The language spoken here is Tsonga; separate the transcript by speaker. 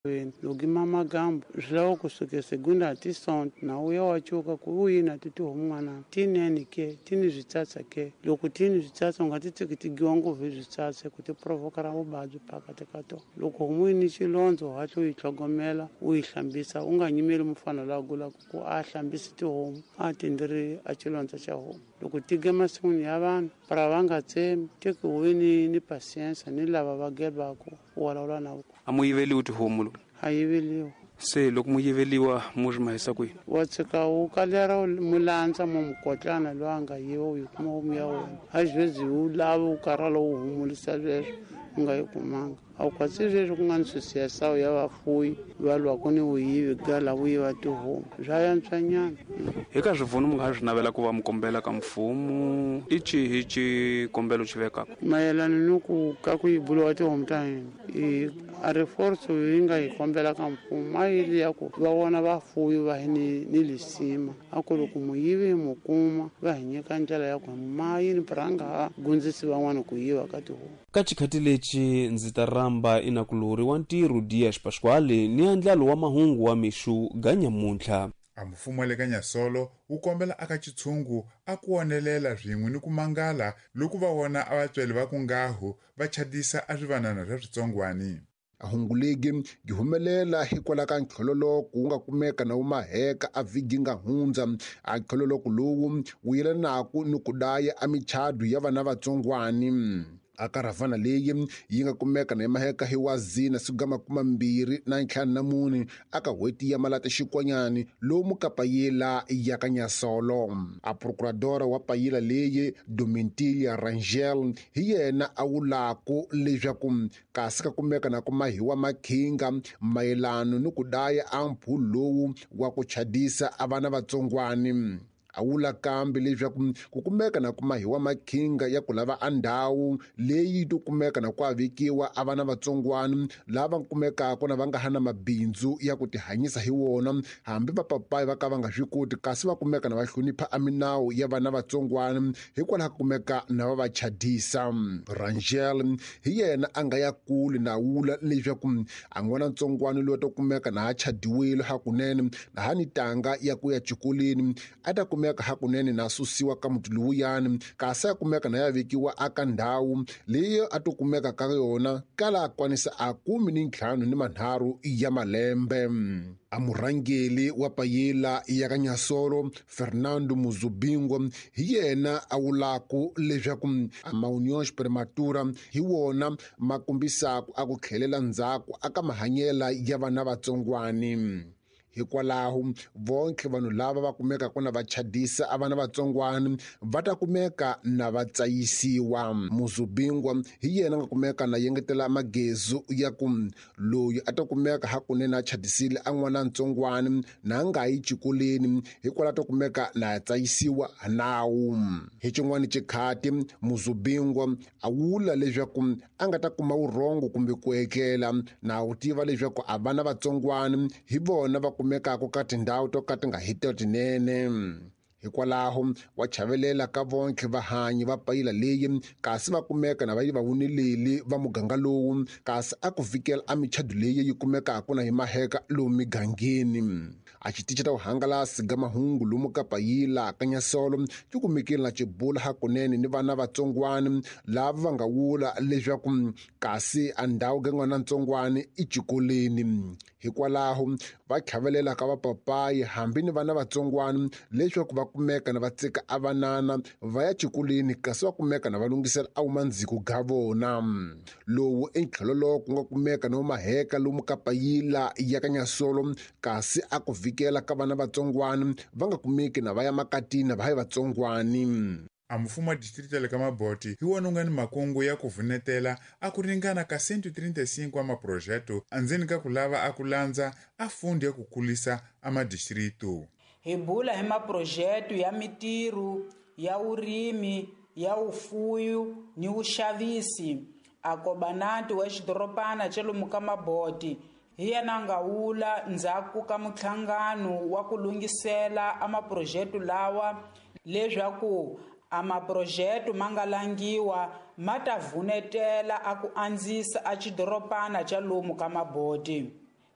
Speaker 1: Loko mamagambu swi lava ku suke segunda ti sonto na uya wa cuka ku u yini a ti tihomu n'wana tinene ke ti ni switsatsa ke loko ti ni switsatsa u nga ti tshiki ti giwa ngopfu hi switsatsa ku ti provokera vuvabyi phakati ka tona. Loko homu yi ni xilondzo u hatla u yi tlhogomela u yi hlambisa u nga nyimeli mufana loyi a gulaka ku a hlambisi tihomu a tindiri a xilondza xa homu. Loko ti ge masin'wini ya vanhu para va nga tsemi teki u ni patience ni lava va gebaku u vulavula na vona.
Speaker 2: A mu yiveliwi tihomu lo?
Speaker 1: A yiveliwi.
Speaker 2: Se loko mu yiveliwa mu swi mahisa kwihi?
Speaker 1: Wa tshika wu kalera mulandza mo mukotlana loyi a nga yiva u yi kuma homu ya wena. A xivezi wu lava wu karhala wu humulisa sweswo u nga yi kumanga. A wu kwatsi sweswo ku nga ni swisiyasawu ya vafuyi va lwaka ni vuyivi gala vu yiva tihomu swa yantswanyana.
Speaker 2: Eka swipfuno mi nga swi navela ku va mi kombela ka mfumo i xihi xikombelo xi vekaka?
Speaker 1: Mayelana ni ku ka ku yibuliwa tihomu ta hina i a ri force yi nga hi kombela ka mfumo a yi li ya ku va vona vafuyi va hi ni lisima a ku loko muyivi hi mu kuma va hi nyika ndlela ya ku ma yini pranga ha gundzisi van'wana ku yiva ka tihomu.
Speaker 2: Ka xikhati lexi ndzi ta rhamba inakulori wa ntirho Dias Pasquale ni andlalo wa mahungu wa mixu ga nyamuntlha.
Speaker 3: A mfumo wa le ka Nyasolo wu kombela aka xitshungu a ku onelela swin'we ni ku mangala loko va vona a vatswari va ku ngahu va chadisa a swivanana swa switsongwani.
Speaker 4: A hungu legi yi humelela hikwalaho ka ntlhololoko wu nga kumeka na wu maheka a vhiki nga hundza. A ntlhololoko lowu wu yelanaku ni ku daya a michado ya vana vatsongwani. A karavhana leyi yi nga kumeka na maheka hi wazina siku ga 24 aka n'hweti ya Malata xikwanyani lomu ka payila ya ka Nyasolo. A procuradora wa payila leyi Domitila Rangel hi yena a wulaku leswaku kasi ka kumeka na ku mahiwa makhinga mayelano ni ku daya a mphu lowu wa ku chadisa a vana vatsongwani. A wula kambe leswaku ku kumeka na ku mahiwa makhinga ya ku lava a ndhawu leyi to kumeka na ku avekiwa a vana vatsongwani lava kumekaka na va nga ha na mabindzu ya ku tihanyisa hi wona hambi vapapayi va ka va nga swi koti kasi va kumeka na va hlonipha a minawu ya vana vatsongwani hikwalaho ka kumeka na va va chadisa. Rangel hi yena a nga ya kule na wula leswaku a n'wana ntsongwani loyi to kumeka na a chadiwile hakunene na ha ni tanga ya ku ya xikolweni a ta kumeka hakunene na susiwa ka muti lowuyani kasi a kumeka na ya vekiwa aka ndhawu leyi a to kumeka ka yona kala a kwanisa a 53 ya malembe. A murhangeli wa payila ya ka Nyasolo Fernando Muzubingwa hi yena a wulaku leswaku a maunions prematura hi wona ma kombisaka a ku tlhelela ndzhaku aka mahanyela ya vana vatsongwani. Hikwalaho vonke vanhu lava va kumekaka na va chadisa a vana vatsongwani va ta kumeka na va tsayisiwa. Muzubingwa hi yena nga kumeka na yengetela magezu ya ku loyi a ta kumeka hakunene a chadisile a n'wana ntsongwani na nga yi xikolweni hikwalaho ta kumeka na tsayisiwa nawu. Hi xin'wana xikhati Muzubingwa a wula leswaku a nga ta kuma vurhongo kumbe ku etlela na wu tiva leswaku a vana vatsongwani hi vona va kumekaka ka tindhawu to ka ti nga hiti tinene. Hikwalaho wa chavelela ka vonke vahanyi va payila leyi kasi va kumeka na va yi va wuneleli va muganga lowu kasi a ku fikela a michado leyi yi kumekaka na hi maheka lomu migangeni. A xitichi ta vuhangalasi ga mahungu lomu ka payila ka Nyasolo xi kumekile na xibula hakunene ni vana vatsongwani lava va nga wula leswaku kasi a ndhawu ga n'wana ntsongwani i xikolweni. Hikwalaho va chavelela ka vapapayi hambi ni vana vatsongwani leswaku va kumeka na va tsika a vanana va ya xikolweni kasi va kumeka na va lunghisela a wumandziko ga vona. Lowu i ntlhololoko ku nga kumeka na maheka lomu ka payila ya ka Nyasolo kasi a ku vikela ka vana vatsongwani va nga kumeki na va ya makatini va yi vatsongwani.
Speaker 3: A mfumo wa distrito ya le ka Maboti hi wona wu nga ni makungu ya ku vunetela a ku ringana ka 135 wa maprojeto andzeni ka ku lava a ku landza a fundi ya ku kulisa a madistrito.
Speaker 5: Hi bula hi maprojeto ya mitirho ya vurimi ya vufuwi ni vuxavisi. A kobanati wa xidorobana xa lomu ka Maboti hi yena nga wula ndzhaku ka muhlangano wa ku lunghisela a maprojeto lawa leswaku a maprojeto ma nga langiwa ma ta vunetela a ku andzisa a xidorobana xa lomu ka Maboti.